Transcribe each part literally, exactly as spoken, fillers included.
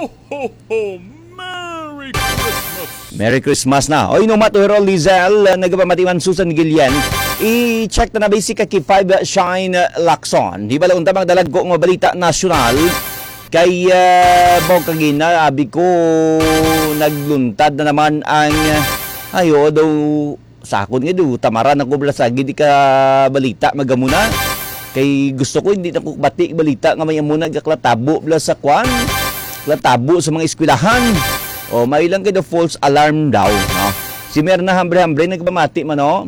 Ho, ho, ho! Merry Christmas! Merry Christmas na. Oy, inumat, Herol Lizelle, uh, nagapamatiman Susan Guillen. I-check na na basic kay five Shine Lacson. Di bala unta magdalag ko nga balita nasyonal. Kay, uh, mo kagina, abi ko, nagluntad na naman ang, uh, ayo, daw, sakon nga, daw, tamaran ako bala sa gid ka balita, magamuna. Kay gusto ko, hindi na ko bati balita nga may amo nagaklatabo bala sa kwan. Latabo sa mga eskwelahan. O, may lang kay the false alarm daw, no? Si Merna Hambre-Hambre nagpamati man, no?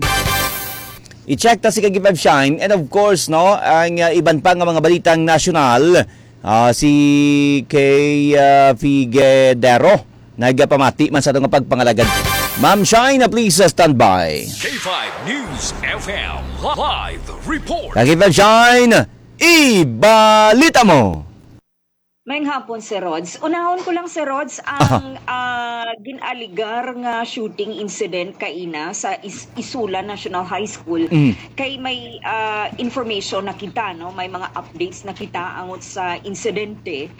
I-check ta si Kagipab Shine. And of course, no, ang, uh, iban pa nga mga balitang nasyonal, uh, si kay, uh, Figuedero nagapamati man sa atong pagpangalagad. Ma'am Shine, please, uh, stand by. K five News F M live report. Kagipab Shine, ibalita mo. Maayong hapon, Sir Rods. Unahon ko lang, Sir Rods, ang, ah, gin-aligar nga shooting incident kaina sa Is-, Isula National High School. Mm. Kay may, ah, information na kita, no? May mga updates na kita angot sa insidente.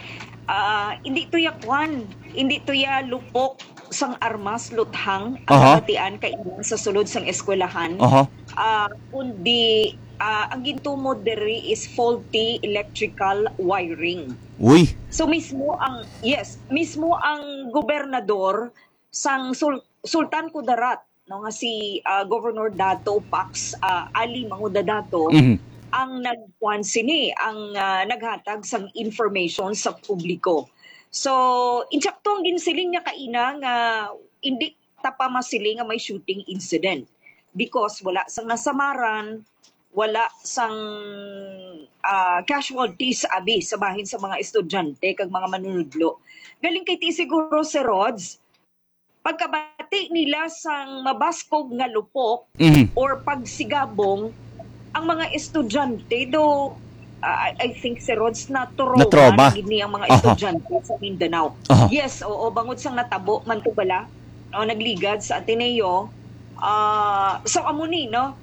Ah, hindi to ya kwan, hindi to ya lupok sang armas, luthang ang Aha. nabatian kaina sa sulod sang eskwelahan. Aha. Ah, kundi, ah, ang gintumod diri is faulty electrical wiring. Uy. So, mismo ang, yes, mismo ang gobernador sang Sul-, Sultan Kudarat, no, nga si, ah, Governor Dato Pax, ah, Ali Manguda Dato, Mhm. ang nagkuan sini, ang, ah, naghatag sang information sa publiko. So, insakto ang ginsiling niya kaina nga hindi ta pa masiling nga may shooting incident because wala sang nasamaran, wala sang, ah, casualties abi sa bahin sa mga estudyante kag mga manunudlo. Galing kay ti siguro, Sir Rods, pagkabati nila sang mabaskog nga lupok Mhm. or pagsigabong, ang mga estudyante do, ah, I, I think, Sir Rods, na-trauma Na-trauma. na gid ni ang mga Aha. estudyante sa Mindanao. Aha. Yes, oo, bangod sang natabo man to bala, o nagligad sa Ateneo. Ah, so, amo ni, no?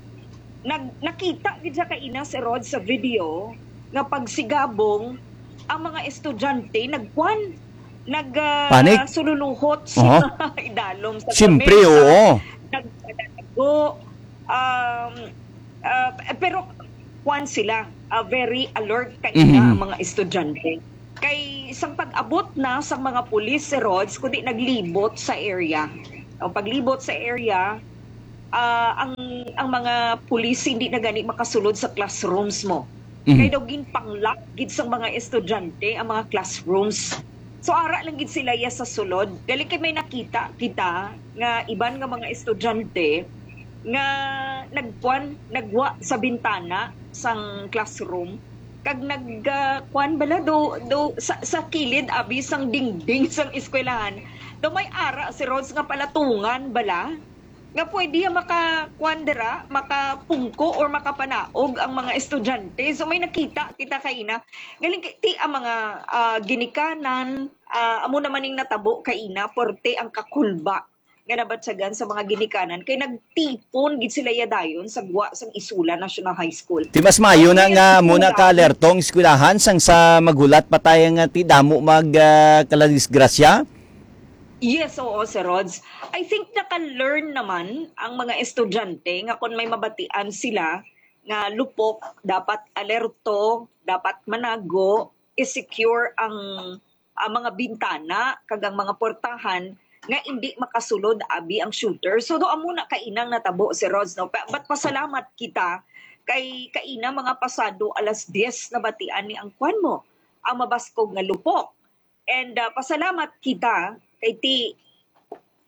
Nag-, nakita gid siya kaina, Sir Rod, sa video nga pagsigabong ang mga estudyante nagkuan, nag, ah, Panic? sululuhot sa Aha. idalom sa Siyempre, lamesa, oo. nagpalago, um, ah, pero kuan sila, ah, very alert kaina Mhm. ang mga estudyante. Kay sang pag-abot na sang mga pulis, Sir Rods, kundi naglibot sa area. O paglibot sa area, ah, ang, ang mga pulis hindi na gani makasulod sa classrooms mo. Mhm. Kay daw ginpanglock gid sang mga estudyante ang mga classrooms. So, ara lang gid sila ya sa sulod. Gali kay may nakita kita nga iban nga mga estudyante nga nagkuan, nagwa sa bintana sang classroom, kag nag, ah, kuan bala, do, do, sa, sa kilid abi sang dingding sang eskwelahan, do may ara, Sir Rods, nga palatungan bala, nga pwede ya maka, kuan dira, makapungko or makapanaog ang mga estudyante. So, may nakita kita kaina. Galing kay, ti ang mga, ah, ginikanan, ah, amo naman ning natabo kaina, porte ang kakulba nga nabatyagan sa mga ginikanan, kay nagtipon gid sila ya dayon sa gwa sang Isula National High School. Ti mas maayo na Ang nga mo na eskwelahan. ka-alerto ang eskwelahan sang sa maghulat pa tayo nga ti damo mag, ah, kaladisgrasya? Yes, oo, Sir Rods. I think naka-learn naman ang mga estudyante nga kung may mabatian sila nga lupok, dapat alerto, dapat manago, i-secure ang, ang mga bintana kag ang mga portahan nga indi makasulod abi ang shooter. So, do amo na kainang natabo, Sir Rods, no? Pa-, but pasalamat kita kay kaina mga pasado alas diyes nabatian ni ang kwan mo, ang mabaskog nga lupok. And, uh, pasalamat kita kay ti,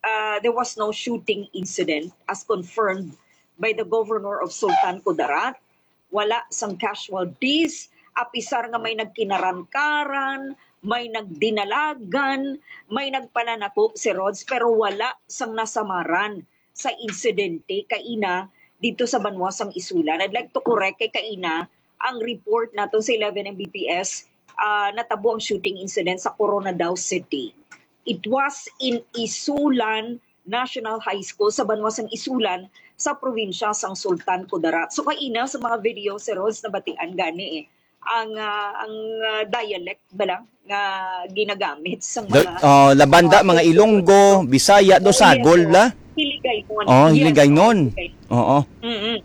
uh, there was no shooting incident as confirmed by the governor of Sultan Kudarat. Wala sang casualties, apisar nga may nagkinarankaran, may nagdinalagan, may nagpananako, Sir Rods, pero wala sang nasamaran sa insidente kaina dito sa banwa sang Isulan. I'd like to correct kay kaina ang report naton sa eleven M B P S, ah, natabo ang shooting incident sa Coronadao City. It was in Isulan National High School sa banwa sang Isulan sa probinsya sang Sultan Kudarat. So kaina sa mga video, Sir Rods, nabatian gani eh. ang, ah, ang, ah, dialect ba lang nga ginagamit sa The, mga, uh, Labanda, ah, mga Ilonggo, Bisaya, do Oh, yes, Sagol, oo. la? Hiligaynon. Oh, Yes, Hiligaynon. oo, Hiligay-, Oo. mm.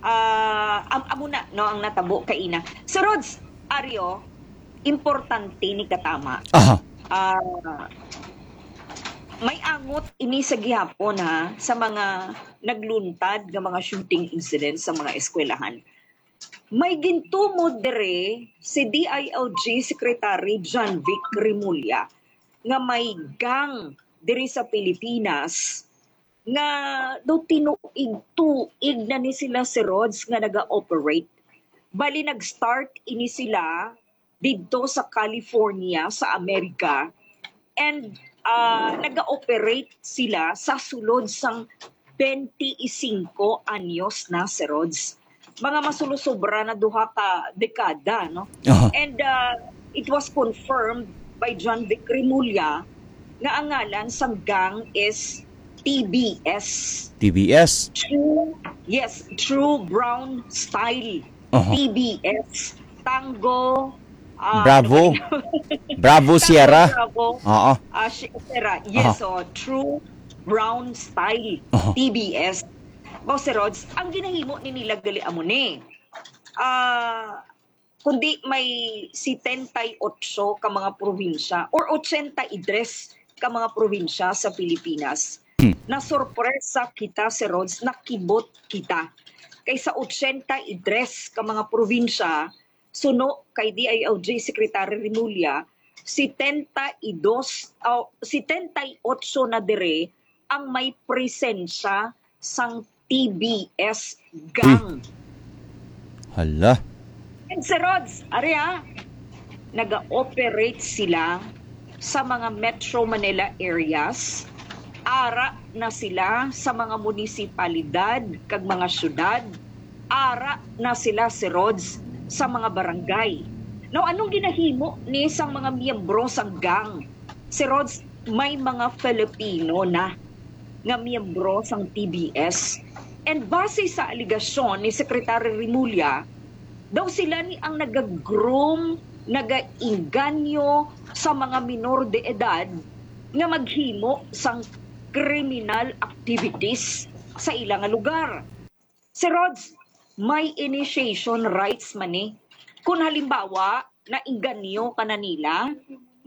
Ah, am-, amo na, no, ang natabo kaina. So, Rods, Ario, importante ni katama. Aha. Ah, may angot ini sa gihapon, ha, sa mga nagluntad nga mga shooting incidents sa mga eskwelahan. May gintumod dire si D I L G Secretary John Vic Remulla nga may gang diri sa Pilipinas nga daw tinuig-tuig na ni sila, si Rods, nga naga-operate. Bali, nag-start ini sila didto sa California, sa Amerika, and, ah, naga-operate sila sa sulod sang twenty-five anyos na, si Rods. Mga masulosobra na duha ka dekada, no? Aha. And, uh, it was confirmed by John Vic Remulla nga ang ngalan sang gang is T B S. T B S. True, yes, True Brown Style. Aha. T B S. Tango. Ah, Bravo. ano ba yun? Bravo Tango, Sierra. Bravo. Oo. Ah, si-, Sierra. Yes, Aha. oh, True Brown Style. Aha. T B S. Boss Rods, ang ginahimo ni nila gali amo ni. Ah, kundi may setenta y ocho ka mga probinsya or ochenta y tres ka mga probinsya sa Pilipinas. Hmm. Nasorpresa kita, si Rods, nakibot kita. Kay sa ochenta y tres ka mga probinsya, suno kay D I L G Secretary Remulla, setenta y dos, oh, setenta y ocho na dire ang may presensya sang T B S gang. Hala. And, Sir Rods, ari, ah, naga-operate sila sa mga Metro Manila areas. Ara na sila sa mga munisipalidad kag mga syudad. Ara na sila, Sir Rods, sa mga barangay. Now, anong ginahimo ni sang mga miyembro sang gang? Sir Rods, may mga Filipino na nga miyembro sang T B S. And base sa alegasyon ni Secretary Remulla, daw sila ni ang nag-groom, nag-inganyo sa mga minor de edad nga maghimo sang criminal activities sa ila nga lugar. Sir Rods, may initiation rights man ni. Kung halimbawa, nainganyo ka na nila,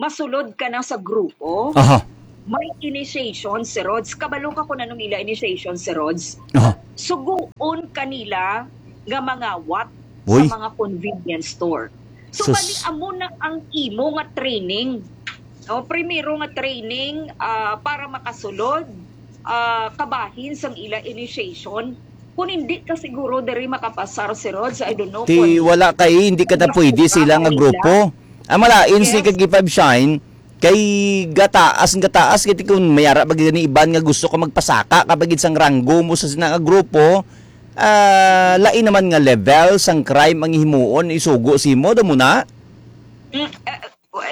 masulod ka na sa grupo, Aha. may initiation, Sir Rods. Kabalo ka kung anong ila initiation, Sir Rods? Aha. Suguon kanila nga mangawat Uy. sa mga convenience store. So, Sus. Bali, amo na ang imo nga training. No, primero nga training, ah, para makasulod, ah, kabahin sang ila initiation. Kung hindi ka siguro diri makapasar, Sir Rods, I don't know Ti kung wala kay hindi ka na pwede sila nga grupo. Ang malain si Yes. Kagipab Shine kay gataas, gataas kay kung mayara ba gani iban nga gusto ka magpasaka kapag sang ranggo mo sa sina nga grupo, ah, lain naman nga level sang crime ang himuon isugo simo, do mo na? Mm, eh,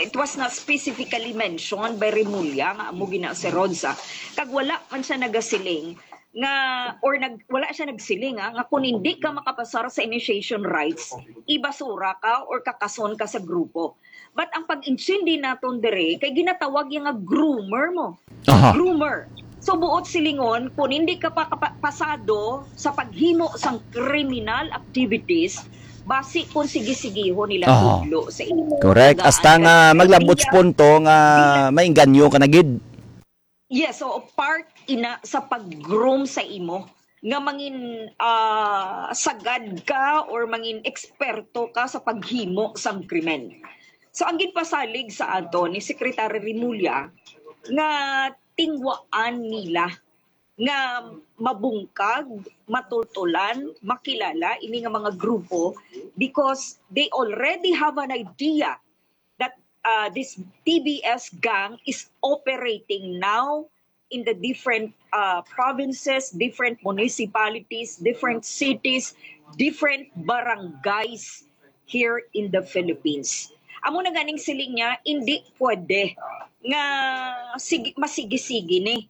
it was not specifically mentioned by Remulla nga amo gina si Rods, ah. Kag wala man siya nagasiling nga, or nag, wala siya nagsiling, ah, nga kung hindi ka makapasar sa initiation rights, ibasura ka or kakason ka sa grupo. But ang pag-intindi naton dire kay ginatawag niya nga groomer mo. Aha. Groomer. So, buot silingon, kung hindi ka pa kapa-, pasado sa paghimo sang criminal activities, basi kung sige-sigihon nila Aha. tudlo sa imo. Correct. Tagaan Hasta ka nga ng maglabot idea. sa punto nga mainganyo ka na gid. Yes, so part ina sa pag-groom sa imo nga mangin, ah, sagad ka or mangin eksperto ka sa paghimo sang krimen. So, ang ginpasalig sa ato ni Secretary Remulla nga tingwaan nila nga mabungkag, matultulan, makilala ini nga mga grupo because they already have an idea that, uh, this T B S gang is operating now in the different, uh, provinces, different municipalities, different cities, different barangays here in the Philippines. Amo na ganing siling niya, hindi pwede nga sige, masigi-sigi ni.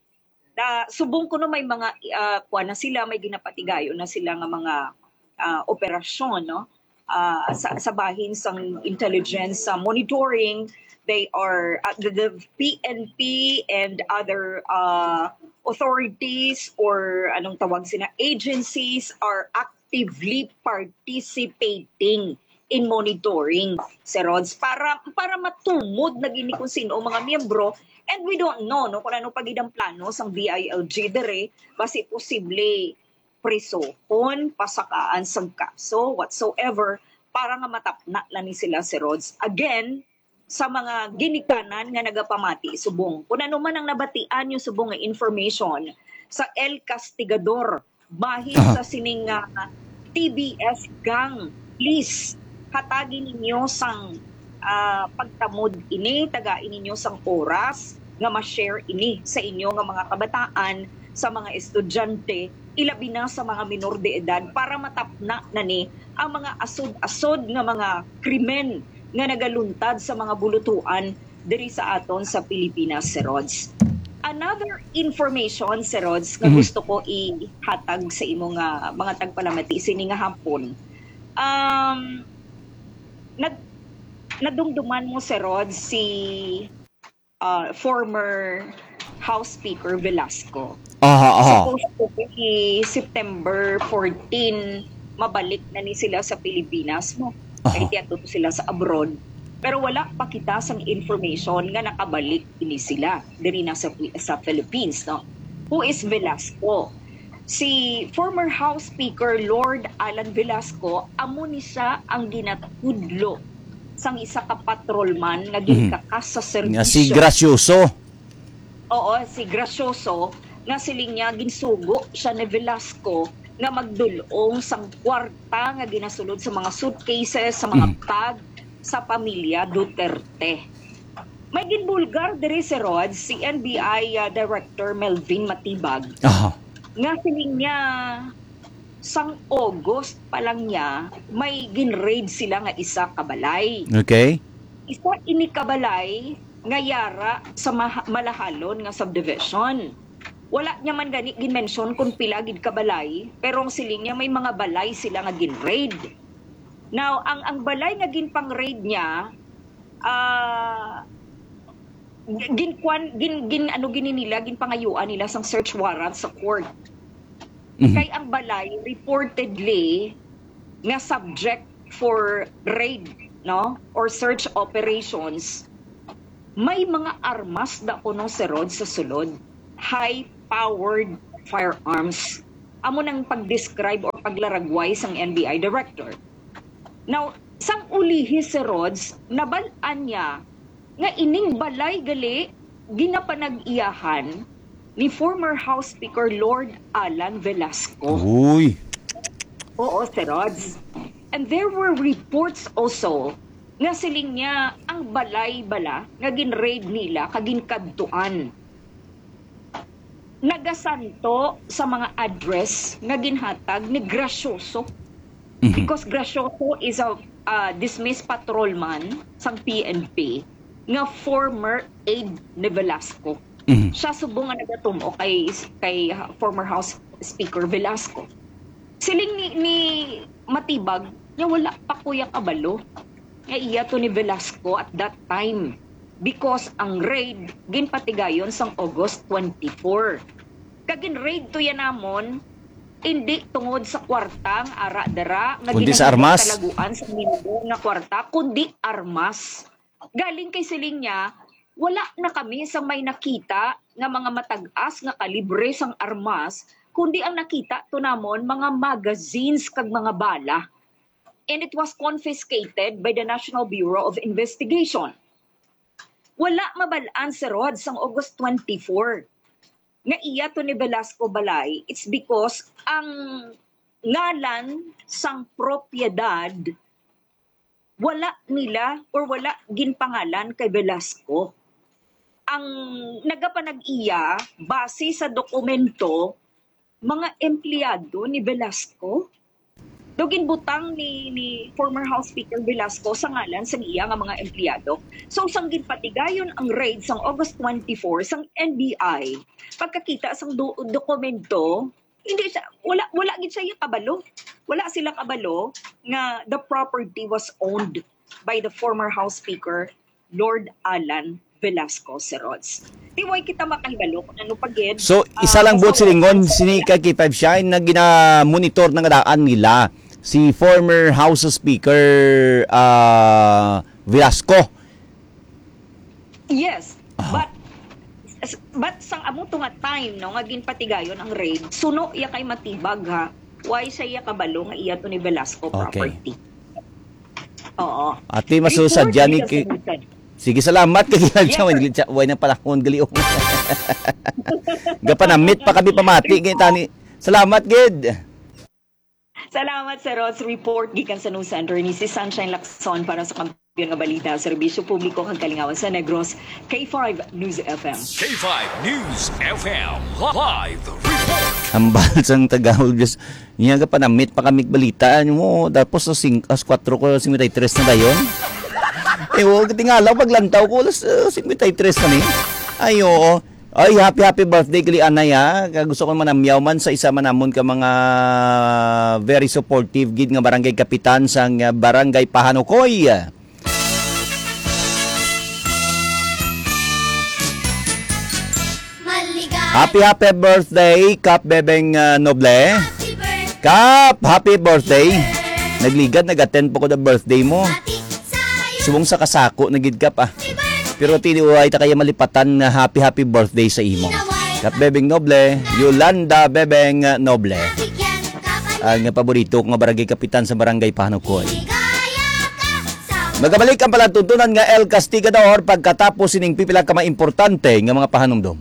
Na, subong kuno may mga, ah, kuwan na sila, may ginapatigayon na sila nga mga, ah, operasyon, no? ah, sa, sa bahin sang intelligence, sa monitoring, they are, uh, the, the P N P and other, uh, authorities or anong tawag sina, agencies are actively participating in monitoring, Sir Rods, para, para matumod na gini kung sino ang mga miyembro. And we don't know, no, kung ano pa gid ang plano sang D I L G dire, basi posible prisohon, pasakaan sang kaso, whatsoever, para nga matapna lang ni sila, Sir Rods. Again, sa mga ginikanan nga nagapamati subong, kung ano man ang nabatian nyo subong nga information sa El Castigador, bahin Aha. sa sining, ah, T B S gang, please, hatagi ninyo sang, ah, pagtamod ini, tagai ninyo sang oras nga ma-share ini sa inyo nga mga kabataan, sa mga estudyante, ilabi na sa mga minor de edad, para matapna na ni ang mga asod-asod nga mga krimen nga nagaluntad sa mga bulutuan diri sa aton sa Pilipinas, Sir Rods. Another information, Sir Rods, nga Mhm. gusto ko ihatag sa imo nga mga tagpalamati sini nga hapon. Um, nag-, nadumduman mo, Sir Rods, si, uh, former House Speaker Velasco. Aha, aha. Supposed to be September fourteen, mabalik na ni sila sa Pilipinas mo. Aha. Kay tiyato to sila sa abroad. Pero wala pa kita sang information nga nakabalik ini sila diri na sa, sa Philippines, no? Who is Velasco? Si former House Speaker Lord Alan Velasco, amo ni siya ang ginatudlo sang isa ka patrolman nga Mhm. ginkakas sa Nga serbisyo. Si Gracioso. Oo, si Gracioso, nga siling niya ginsugo siya ni Velasco nga magdul-ong sang kwarta nga ginasulod sa mga suitcases, sa mga Mhm. bag sa pamilya Duterte. May ginbulgar diri, Sir Rod, si N B I, ah, Director Melvin Matibag, Aha. nga siling niya sang August pa lang niya, may ginraid sila nga isa ka balay. Okay. Isa ini ka balay nga yara sa Maha-, Malahalon nga subdivision. Wala niya man gani ginmention kung pila gid ka balay, pero ang siling niya may mga balay sila nga ginraid. Now, ang, ang balay nga ginpang-raid niya, ah, ginkuan, gin, gin, ano gini nila, ginpangayuan nila sang search warrant sa court. Mhm. Kay ang balay reportedly nga subject for raid, no, or search operations, may mga armas da kuno, Sir Rod, sa sulod. High-powered firearms. Amo nang pag-describe or paglaragway sang N B I director. Now, sang ulihi, Sir Rods, nabal-an niya nga ining balay gali ginapanag-iyahan ni former House Speaker Lord Alan Velasco. Uy. Oo, Sir Rods. And there were reports also nga siling niya ang balay bala nga ginraid nila kag ginkadtuan nagasanto sa mga address nga ginhatag ni Gracioso. Mhm. Because Gracioso is a, uh, dismissed patrolman sang P N P nga former aide ni Velasco. Mhm. Siya subong nga nagatum-o kay, kay former House Speaker Velasco. Siling ni, ni Matibag, niya wala pa kuya kabalo nga iya to ni Velasco at that time, because ang raid ginpatigayon sang August twenty-four. Kag gin-raid to yan namon, hindi tungod sa kwarta nga ara dara nga Kundi sa ginahimo armas. Talaguan sa minor nga kwarta, kundi armas. Galing kay siling niya, wala na kami sang may nakita nga mga matag-as nga kalibre sang armas, kundi ang nakita to namon mga magazines kag mga bala. And it was confiscated by the National Bureau of Investigation. Wala mabal-an, Sir Rod, sang August twenty-four nga iya to ni Velasco balay. It's because ang ngalan sang propiedad wala nila or wala ginpangalan kay Velasco. Ang nagapanag-iya, base sa dokumento, mga empleyado ni Velasco. Do ginbutang ni, ni former House Speaker Velasco sa ngalan sa iya nga mga empleyado. So, sang ginpatigayon ang raid sang August twenty-four sang N B I, pagkakita sang do-, dokumento, Hindi siya, wala, wala gid siya kabalo. Wala sila kabalo nga the property was owned by the former House Speaker, Lord Alan Velasco Serods. Di way kita makahibalo kung ano pa gid. So, isa lang ang buot silingon, sini ka K five Shine na gina-monitor na nga daan nila si former House Speaker, ah, Velasco. Yes, Ah. but, but sang amo to nga time, no, nga ginpatigayon ang raid, suno iya kay matibag, ha. Why siya iya kabalo nga iya to ni Velasco Okay. property? Oo. Ate, masusa Report dyan ni ni ki-, Kasabutan. Sige, salamat kay Yes, Gilad siya. Wala sir. Gilad siya. Wala na pala akong gali. Gapanamit pa kami pamati kay tani. Salamat gid. Salamat sa Rods Report gikan sa News Center ni si Sunshine Lacson para sa Kampiyon nga Balita, Serbisyo Publiko kag Kalingawan sa Negros, K five News F M. K five News F M live report. Hambal sang Tagalog, Diyos. Niya ka panamit pa kami balita, ano mo, tapos sa sing-, as kwatro ko, singkwenta y tres na dayon. Eh, huwag tingala, paglantaw ko, alas, uh, singkwenta y tres na ni. Ay, oo. Ay, happy, happy birthday, kali anay, ha. Kag gusto ko manamyaw man sa isa man namon ka mga very supportive gid nga barangay kapitan sang, uh, Barangay Pahanukoy. Happy, happy birthday, Kap Bebeng, uh, Noble. Kap, happy birthday. Nagligad, nag-attend po ko the birthday mo. Subong sa kasako na gid, Kap, ah. Pero tiniway ta kaya malipatan nga happy, happy birthday sa imo. Kap Bebeng Noble, Yolanda Bebeng Noble. Ang paborito ko nga barangay kapitan sa barangay Pahanukoy. Magabalik ang palatuntunan nga El Castigador pagkatapos sining pipila ka mga importante nga mga pahanumdom.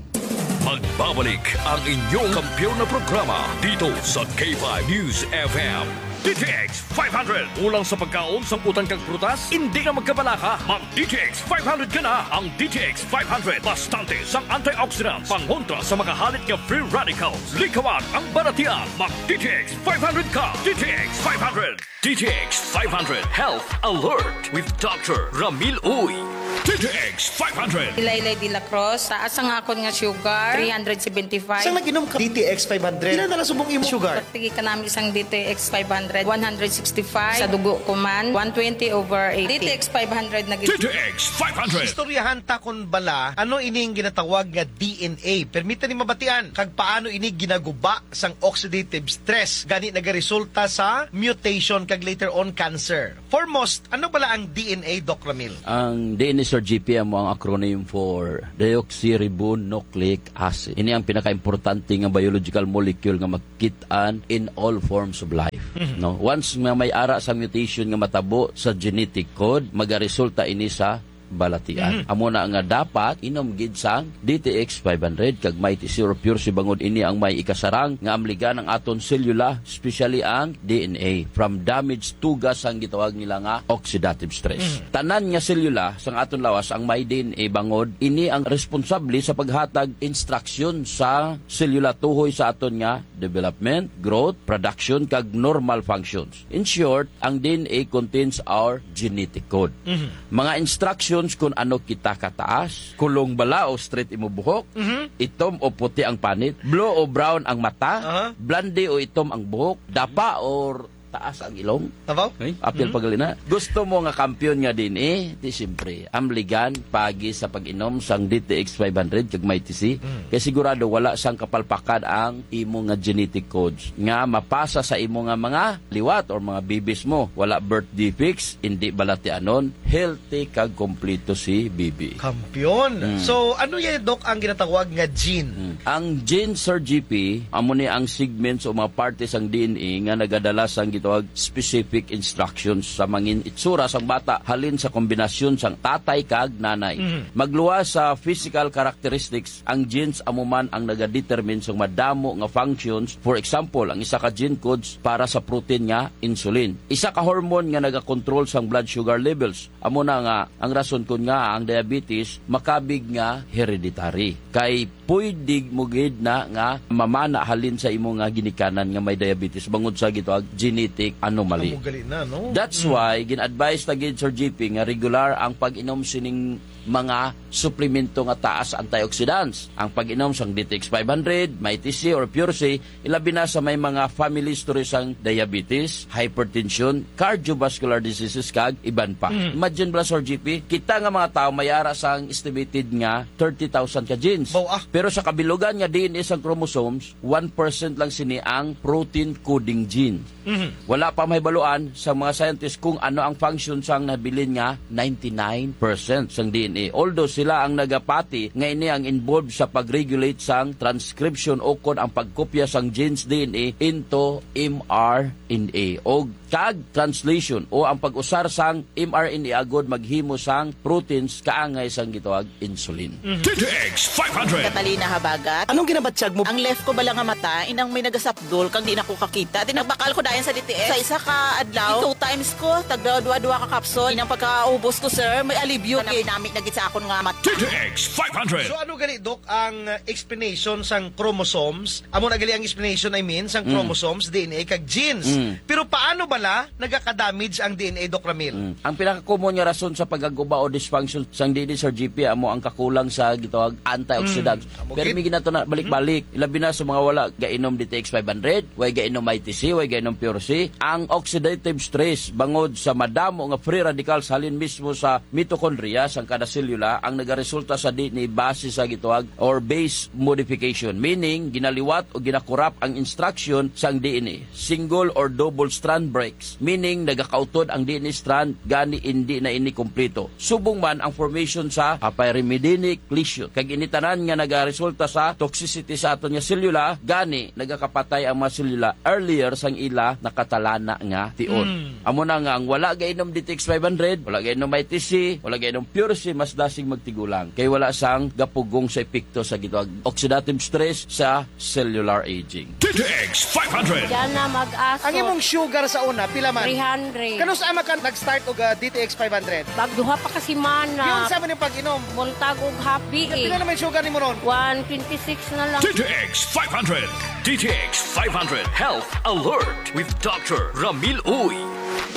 Magbabalik ang inyong kampiyon na programa dito sa K five News F M. D T X five hundred. Kulang sa pagkaon, sangkutan kag prutas? Hindi na magkabalaka. Mag D T X five hundred ka na. Ang D T X five hundred, bastante sang antioxidants, pangontra sa mga halit nga free radicals. Likawan ang balatian. Mag D T X five hundred ka. D T X five hundred. D T X five hundred Health Alert with Doctor Ramil Uy. D T X five hundred. Ilaylay de la Cruz, taas ang akon nga sugar, three hundred seventy-five. Sang nag-inom ka D T X five hundred? Pila na lang subong imong sugar? Pagtigi ka namin sang D T X five hundred, one hundred sixty-five. Sa dugo ko man, one twenty over eighty. D T X five hundred na gid. D T X five hundred. Istoryahan ta kon bala, ano ining ginatawag nga D N A? Permita ni mabatian, kag paano ini ginaguba sang oxidative stress, gani nagaresulta sa mutation kag later on cancer. Foremost, ano bala ang D N A, Doc Ramil? Ang D N A, Sir G P, amo ang acronym for deoxyribonucleic acid. Ini ang pinakaimportante nga biological molecule nga makit-an in all forms of life. Mhm. No? Once nga may ara sa mutation nga matabo sa genetic code, magaresulta ini sa balatian. Mhm. Amo na nga dapat inom gid sang D T X five hundred kag Mighty C or Pure C bangod ini ang may ikasarang nga amligan ang aton selula, especially ang D N A, from damaged tugas sang gitawag nila nga oxidative stress. Mhm. Tanan nga selula sang aton lawas ang may D N A bangod ini ang responsable sa paghatag instruction sa selula tuhoy sa aton nga development, growth, production, kag normal functions. In short, ang D N A contains our genetic code. Mhm. Mga instructions kung ano kita kataas, kulong bala o straight imo buhok, Mhm. itom o puti ang panit, blue o brown ang mata, Aha. blonde o itom ang buhok, dapa or taas ang ilong. Tabaw? Ay. Apil Mhm. pagalina. Gusto mo nga kampiyon nga D N A? Di siyempre. Amligan, pagi sa pag-inom sang D T X five hundred kag Mighty C. Mhm. Kay sigurado wala sang kapalpakan ang imo nga genetic codes nga mapasa sa imo nga mga liwat or mga bibis mo. Wala birth defects, hindi balatianon, healthy kag kompleto si bibi. Kampiyon. Mm. So, ano yan, Doc, ang ginatawag nga gene? Mm. Ang gene, Sir G P, amo ni ang segments o mga parte sang D N A nga nagadala sang gitawag specific instructions sa mangin itsura sang bata halin sa kombinasyon sang tatay kag nanay. Mhm. Magluwas sa physical characteristics, ang genes amo man ang nagadetermine sang madamo nga functions. For example, ang isa ka gene codes para sa protein nga insulin. Isa ka hormone nga nagakontrol sang blood sugar levels. Amo na nga ang rason kun nga ang diabetes makabig nga hereditary. Kay pwede mo gid na nga mamana halin sa imo nga ginikanan nga may diabetes bangod sa gitawag genetic anomaly. Amo gali na, no? That's Mm. why gin-advise ta gid, Sir G P, nga regular ang pag-inom sining mga suplemento nga taas antioxidants. Ang pag-inom sang D T X five hundred, Mighty C or Pure C, ilabi na sa may mga family history sang diabetes, hypertension, cardiovascular diseases, kag iban pa. Mm. Imagine bala, Sir G P, kita nga mga tawo may ara sang estimated nga thirty thousand ka genes. Baw, ah. Pero sa kabilugan nga D N A sang chromosomes, one percent lang sini ang protein coding gene. Mhm. Wala pa mahibaluan sa mga scientist kung ano ang function sang nabilin nga ninety-nine percent sang D N A. Although sila ang nagapati nga ini ang involved sa pag-regulate sang transcription o kon ang pagkopya sang genes D N A into M R N A o kag translation o ang pag-usar sang M R N A agod maghimo sang proteins kaangay sang gitawag insulin. D T X five hundred. Catalina Habagat. Anong ginabatyag mo? Ang left ko bala nga mata, inang may nagasapdol, kag di na ko kakita. Di nagbakal ko dayon sa D T X. Sa isa ka adlaw, two times ko, tagda dua-dua ka capsule. Inang pagkaubos ko, sir, may alibyo gid. Nami na gid sa akon nga mata. D T X five hundred. So, ano gali, Doc, ang, uh, explanation sang chromosomes? Amo na gali ang explanation, I mean, sang Mm. chromosomes, D N A, kag genes. Mm. Pero paano bala nagaka-damage ang D N A, Doc Ramil? Mm. Ang pinaka-common nga rason sa pag-aguba o dysfunction sang D N A, Sir G P, amo ang kakulang sa gitawag antioxidants. Mm. Amo Pero gid. May ginato na balik-balik, labi na sa mga wala gainom D T X five hundred, way gainom I T C, way gainom Pure C. Ang oxidative stress bangod sa madamo nga free radicals halin mismo sa mitochondria sang kada selula ang nagaresulta sa D N A base sa gitawag or base modification, meaning ginaliwat o ginakurap ang instruction sang D N A. Single or double strand breaks, meaning nagakautod ang D N A strand, gani indi na ini kompleto. Subong man ang formation sa apyrimidinic lesion, kag ini tanan nga nagaresulta sa toxicity sa aton nga selula, gani nagakapatay ang mga selula earlier sang ila nakatalana nga tion. Mm. Amo na nga ang wala gainom D T X five hundred, wala gainom I T C, wala gainom Pure C, mas dasig magtigulang kay wala sang gapugong sa epekto sa gitawag oxidative stress sa cellular aging. D T X five hundred. Diana Mag-aso. Ang imong sugar sa una, pila man? Three hundred. Kanus-a man ka nag-start og, ah, D T X five hundred? Pag duha pa ka semana. Yun sa man yung pag-inom. Buntag og happy eh. Pila naman yung sugar nimo ron? One twenty-six na lang. D T X five hundred. D T X five hundred Health Alert with Doctor Ramil Uy.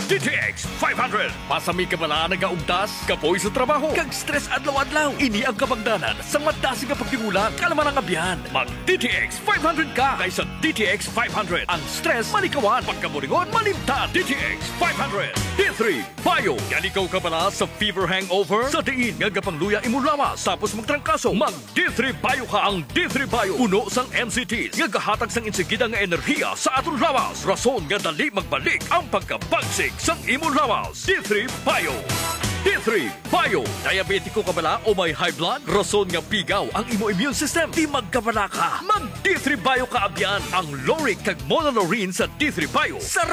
D T X five hundred. Pasami ka bala nagaugdas, kapoy sa trabaho, kag stress adlaw-adlaw. Ini ang kabangdanan sa madasig nga pagtigulang, kalaman ang abyan. Mag D T X five hundred ka, kay sa D T X five hundred ang stress malikawan, pagkaburingon malimtan. D T X five hundred, D three Bio. Yan ikaw ka bala sa fever hangover? Sa diin nga gapangluya imong lawas, tapos magtrangkaso, mag D three Bio ka. Ang D three Bio, puno sang M C Ts nga gahatag sang insigida nga enerhiya sa aton lawas, rason nga dali magbalik ang pagkabagsik sang imong lawas. D three Bio. D three Bio. Diabetiko ka bala o may high blood? Rason nga pigaw ang imo immune system, di magkabala ka. Mag D three Bio ka abyan. Ang lauric kag monolaurin sa D three Bio, sa